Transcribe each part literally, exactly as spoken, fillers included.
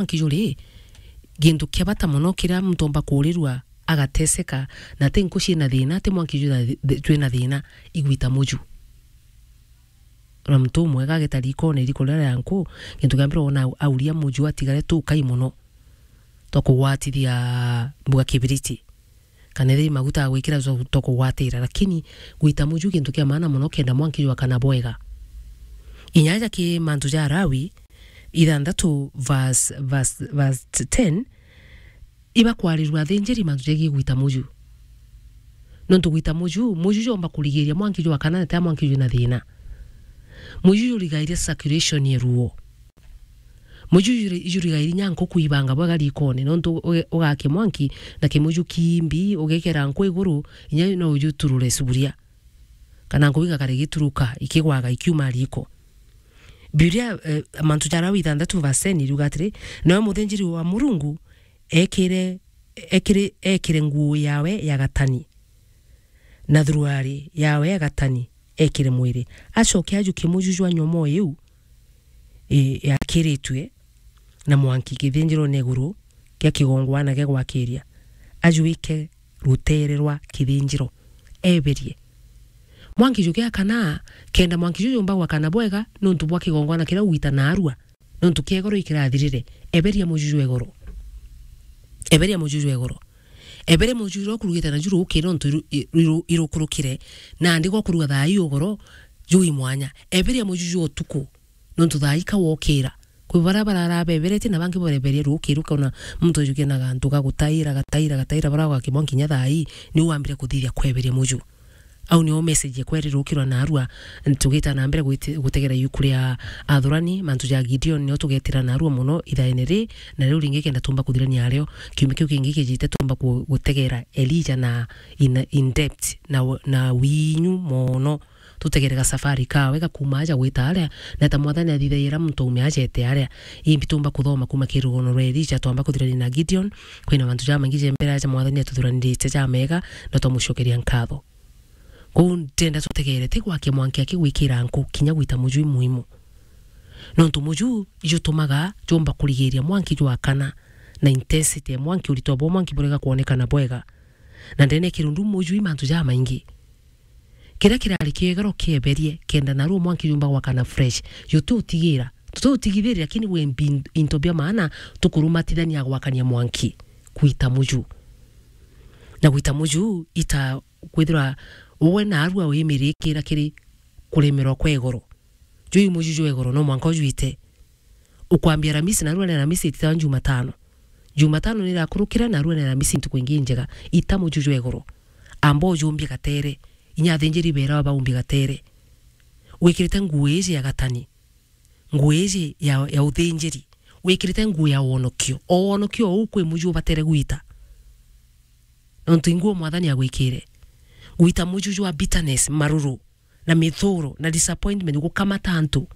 mwanki juri, gintu kia bata mono kiria muntu omba kuurirua agateseka, na ti nku ciina thina, ti mwanki jwina thi-, jwina thina, igwita muju. Na muntu umwega ageta rikone, riko riria ria nku, gintu kia mbere wona au-, auria muju atigare tukai mono twa kugwatithia mbuga kibiriti. Kana ethira i maguta ya gwikira jo-, to kugwatira, lakini gwita muju gintu kia maana mono kenda mwanki jwakana bwega. Inya aja ki mantu ja Lawi ithanthatu verse, verse, verse ten, ibakwarirua athinjiri mantu jegii gwita muju. Nontu gwita muju, muju jomba kurigiria mwanki jwakana na tia mwanki jwina thina. Muju jurigairia circulation ya ruo. Muju juri-, jurigairia inya nkuku ibanga bwega rikone, nontu uge-, ugakia mwanki na kimuju kimbi, ugekera nku iguru, inya no ujuturure suburia. Kana nkuku igakara igituruka, ikigwaga, ikiuma riko. Bibilia, eh, mantu ja Lawi ithanthatu verse ten iriuga atiri, nawe muthinjiri wa Murungu ekire, ekire, ekire nguu yawe ya gatani, na thuruari yawe ya gatani ekire mwiri. Acoke ajukie muju jwa nyomoo iu, i-, yakiritue na mwanki kithinjirone iguru kia kigongwana gia gwakiria, ajuike rutere rwa kithinjiro, eberie. Mwanki jugiakana, kenda mwanki ju jumba gwakana bwega, nontu bwa kigongwana kiria ugwita naarua, nontu kia igoro ikirathirire, eberia muju jwa igoro. Eberia muju jwa igoro. Eberia muju juria ukurugite naju ruki, nontu iru-, iru-, irukurukire, nandi gwakuruga thaa ii ugoro, jui mwanya. Eberia muju jwa utuku, nontu thaa ii ka wokira. Kwi baria barara beberetie na bangi bareberia ruki, rukona muntu ajukia na gantu gagutaira, gataira, gataira, bara gakimwa nkinya thaa ii, niu wambire kuthithia kweberia muju. Au nio message ekwa iri rukirwa naarua, tugita na mbere gwiti-, gutegera yuku ria athurani, mantu ja Gideon nio tugetira naarua mono ithaene ri, na riu ringi kenda tumba kuthirania ario, kiumia kiu kingi kijite tumba ku-, gutegera Elijah na in, in depth na, na winyu mono. Tutegere gasafari kawe gakuma aja gwita aria, na ta Mwathani athithagira muntu aume aja ete aria. Imbi tumba kuthoma kuma ki rugono rwa Elijah twamba kuthirania na Gideon, kwina mantu jamaingi ja mbere aja Mwathani atuthuranirite jamega, na twamucokeria nkatho. Kwou ndenda tutegere ti gwakia mwanki aki gwikira nku kinya gwita muju i muhimu. Nontu muju ijutumaga jomba kurigiria mwanki jwakana, na intensity ya mwanki, uritwa bwa mwanki burega kwonekana bwega. Na ndene ya kirundu muju i mantu jamaingi. Kiria kirari kiegero kieberie, kenda naruo mwanki jumba gwakana fresh. Juti utigira, tuti utigithiri, lakini we mbi-, into bia maana tukurumatithania gwakania mwanki. Gwita muju. Na gwita muju ita kwithirwa uwe naarua wimirikira kiri kuremerwa kwa igoro. Juu muju jwa igoro no mwanka ujuite. Ukwambia Aramisi, naarua ni Aramisi ititawa Jumatano. Jumatano ni irakurukira, naarua ni Aramisi ntuku ingi njega. Ita muju jwa igoro. Amba ujumbie gatere. Inya athinjiri beera baumbie gatere. Wikirite nguo iji ya gatani. Nguo iji ya, ya uthinjiri. Wikirite nguo ya wonokio. O wonokio uu kwi muju ubatere gwita. Nontu i nguo Mwathani agwikire. Gwita muju jwa bitterness, maruru, na mithuro, na disappointment, gukamata antu.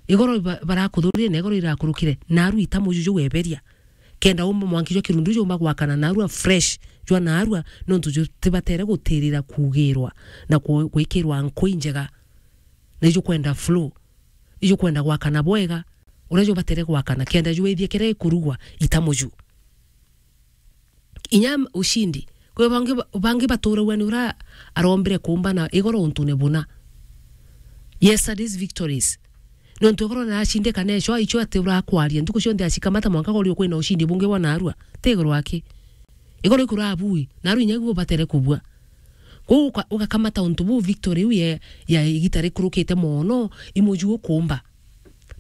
Igoro ba-, barakuthurire na igoro irakurukire, naarua ita muju juu weberia. Kenda umba mwanki jwa kirundu jumba gwakana naarua fresh, jwa naarua, nontu jutibatere gutirira kuugirwa na ku-, gwikirwa nku injega. Na ijukwenda flow, ijukwenda gwakana bwega, uria jubatere gwakana, kenda jwithie kiria ikurugwa, ita muju. Inya ushindi. Kwi bangi ba-, bangi baturagua ni uria arombire kuumbana igoro untune buna. Yesterday's victories. Nontu igoro niracindika neco, icio ati urakwaria. Ntuku cionthe acikamata mwanka gori ukwina ushindi bungi bwa naarua. Ti igoro aki. Igoro ikuraa bui, naarua inya igu ubatere kubua. Kwou uka-, ugakamata untu buu victory iu ya, ya igita rikurukite mono, i muju ukuumba.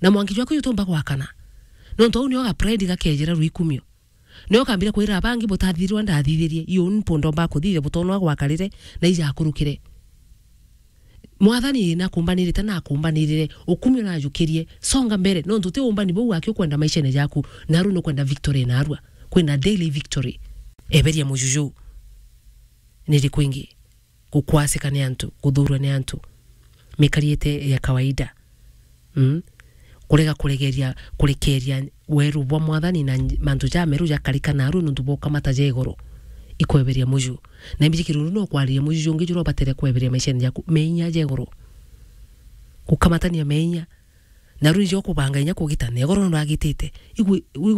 Na mwanki jwaku jutumba gwakana. Nontu au nio ga pride gakejera rwikumio. Nio kambire kwira abangi, butathithirwa ndathithirie, iyo ni mpondo mbakuthithia butonwa gwakarire, na ijakurukire. Mwathani nakumbanirite, nakumbanirire, ukumio najukirie, songa mbere, nontu ti umbani buu waki ukwenda maishene jaku, naru nukwenda victory narua, kwina daily victory. Eberia mujuju. Niri kwingi. Gukwasika ni antu, guthurwa ni antu, mikari ite ya kawaida. Mm? Kurega kuregeria, kurekeria weru bwa Mwathani na nj-, mantu jameru jakarika naru nuntu bwa ukamata ja igoro. Ikweberia muju. Na imbiji kirundu no kwariria muju jungi juria ubatere kweberia maishene jaku, meinya ja igoro. Gukamatania meinya. Na riu ijo kubanga inya kugita, na igoro nuragitite. Igwe, igwe